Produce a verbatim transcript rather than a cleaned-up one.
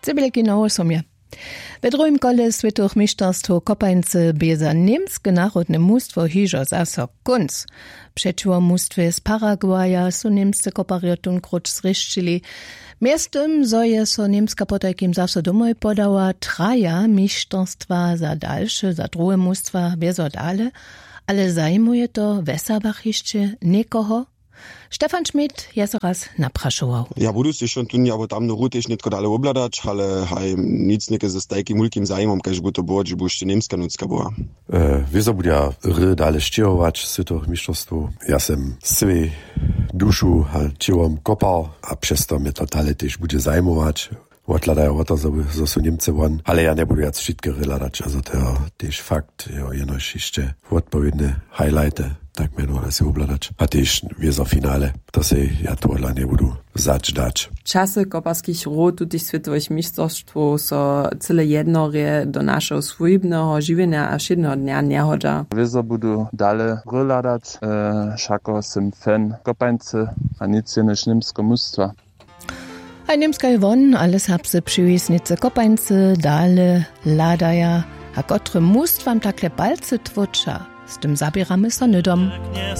Cebjelki na wosomje. We druhim kole swětowych mišterstwow kopańcy bě za němske narodne mustwo hižo zaso kónc. Přećiwo mustwje z Paraguaja su němsce koparjo tunkróć zrěšćili. Mjeztym zo je so němska potajkim zaso domoj podała, traja mišterstwa za dalše za druhe mustwa wězo dale. Ale zajimuje to we serbach hišće někoho? Stefan Schmidt je so raz naprašował. Ja budu sej šón tón abo tamny rutež nětko dale wobhladać, ale haj, nic něke z tajkim wulkim zajimom kaž bu to było hdźež bu hišće němska nutřka była. Wězo budźa hry dale sćěhować swětowych mišterstwow. Ja sem swěj dušu a ćěłom kopał a přez to mje to dale tež budźe zajimować. Wothladajo wo to zo su němce won, ale ja njebudu wjac wšitke hry hladać a zo to jo tež fakt jo jenož hišće wotpowědne highlighty tak mjenowano sej wobhladać a tež wězo finale. To sej ja tohodla njebudu wzać dać. Časy koparskich hrow tutych swětowych mišterstwow so cyle jednorje do našeho swójbneho žiwjenja a wšědneho dnja njehodźa. Wězo budu dale hry hladać. Wšako sym fan kopańcy a nic jenož němskeho mustwa. Haj němskaj won ale serbsce přiwisnicy kopańcy dale hladaja, a kotrym mustwam takle palcy tłóča, z tym zaběramy so hnydom.